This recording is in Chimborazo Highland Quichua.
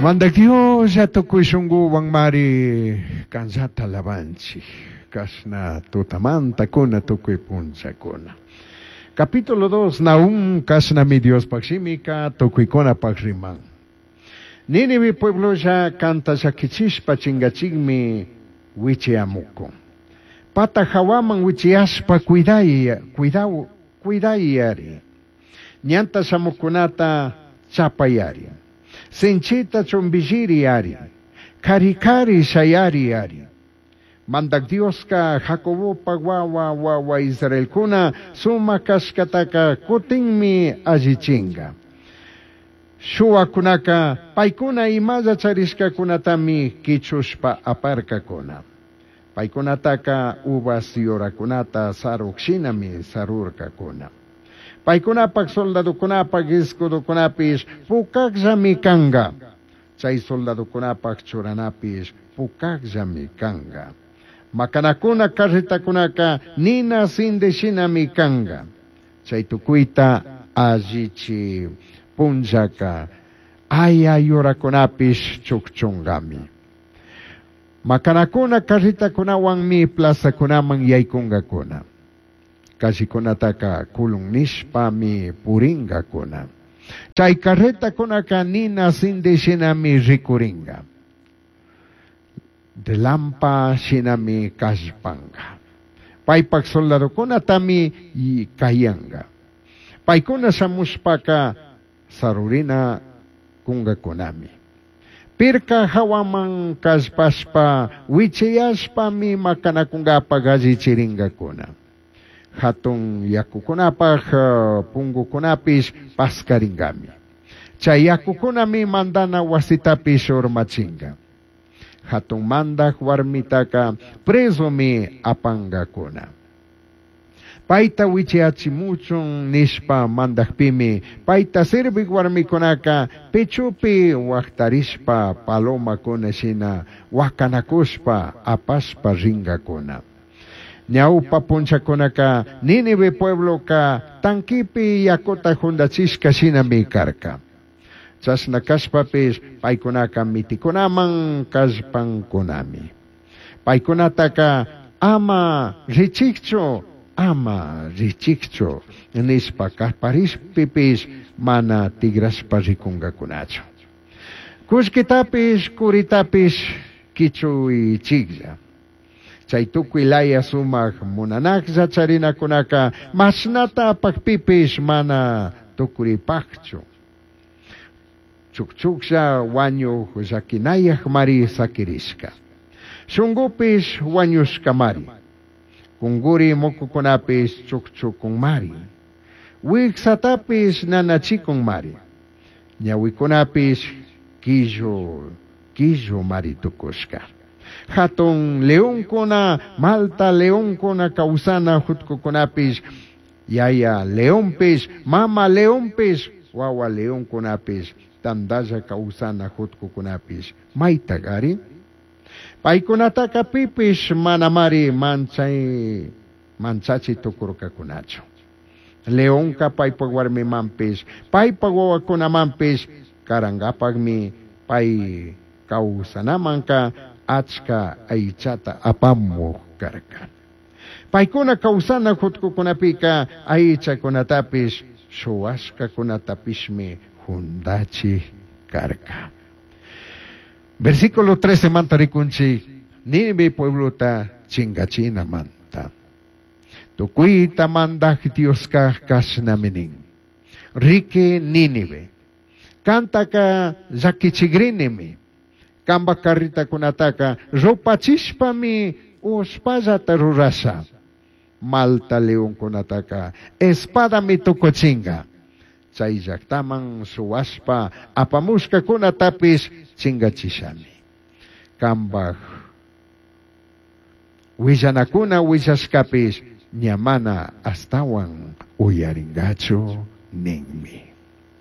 Mandac Dioslla tucui shunguhuanmari canllata alabanchij, cashna tutamantacuna tucui punllacuna. Capítulo 2 Nahum cashnami Diospaj shimica tucuicunapaj riman. Nínive pueblolla canta llaquichishpa chingachijmi huichiyamucun. Pata jahuaman huichiyashpa cuidai, cuidau, cuidaiyari. Ñanta shamuccunata chapayari. Sinchita chumbilliriyari. Cari cari shayariyari. Mandac Diosca Jacobopac huahua huahua israelcuna sumac cashcataca cutinmi allichinga. Shuhuacunaca paicuna imalla charishcacunatami quichushpa aparcacuna. Paicunataca uvas yuracunata saruc shinami sarurcacuna. Paicunapac soldadocunapac escudocunapish pucacllami canga. Chai soldadocunapac churanapish pucacllami canga. Macanacuna carretacunaca nina sindi shinami canga. Chai tucuita allichi punllaca aya yuracunapish chucchungami. Macanacuna carretacunahuanmi plazacunaman yaicungacuna. Callecunataca culun nishpami puringacuna. Chai carretacunaca nina sindi shinami ricuringa. Relampa shinami callpanga. Paipac soldadocunatami cayanga. Paicuna shamushpaca sarurina cungacunami. Pirca jahuaman callpashpa huichiyashpami macanacungapac allichiringacuna. Jatun yacucunapac pungucunapish pascaringami. Chai yacucunami mandana huasitapish urmachinga. Jatun mandaj huarmitaca prezomi apangacuna. Paita huichiyachimuchun nishpa mandajpimi paita servij huarmicunaca pechopi huajtarishpa palomacuna shina huacanacushpa apashpa ringacuna. Ñaupa punllacunaca Nínive puebloca tanquipi yacuta jundachishca shinami carca. Chashna cashpapish paicunaca miticunaman callpancunami. Paicunataca ama richijchu, ama richijchu nishpa caparishpipish mana tigrashpa ricungacunachu. Cullquitapish, curitapish quichuichijlla. Chai tucui laya sumaj munanajlla charinacunaca mashnata apajpipish mana tucuripajchu. Chucchuclla huañuj llaquinayajmari saquirishca. Shungupish huañushcamari. Cunguri mucucunapish chucchucunmari. Huijsatapish nanachicunmari. Ñahuicunapish quillu, quillumari tucushca. Jatun leoncuna, malta leoncuna causana jutcucunapish, yaya leonpish, mama leonpish, huahua leoncunapish, tandalla causana jutcucunapish, maitagari? Paicunataca pipish manamari manchai, manchachi tucurcacunachu. Leonca paipac huarmimanpish, paipac huahuacunamanpish carangapacmi pai causanamanca achca aichata apamuj carca. Paicuna causana jutcucunapica aichacunatapish, shuhuashcacunatapishmi jundachi carca. Versículo 13 manta ricunchij, Nínive pueblota chingachinamanta. Tucuita mandaj Diosca cashnami nin. Riqui Nínive, cantaca llaquichigrinimi, cambac carretacunataca rupachishpami ushpallata rurasha. Malta leoncunataca espadami tucuchinga. Chai llactaman shuhuashpa apamushcacunatapish chingachishami. Cambaj huillanacuna huillashcapish ña mana ashtahuan uyaringachu ninmi.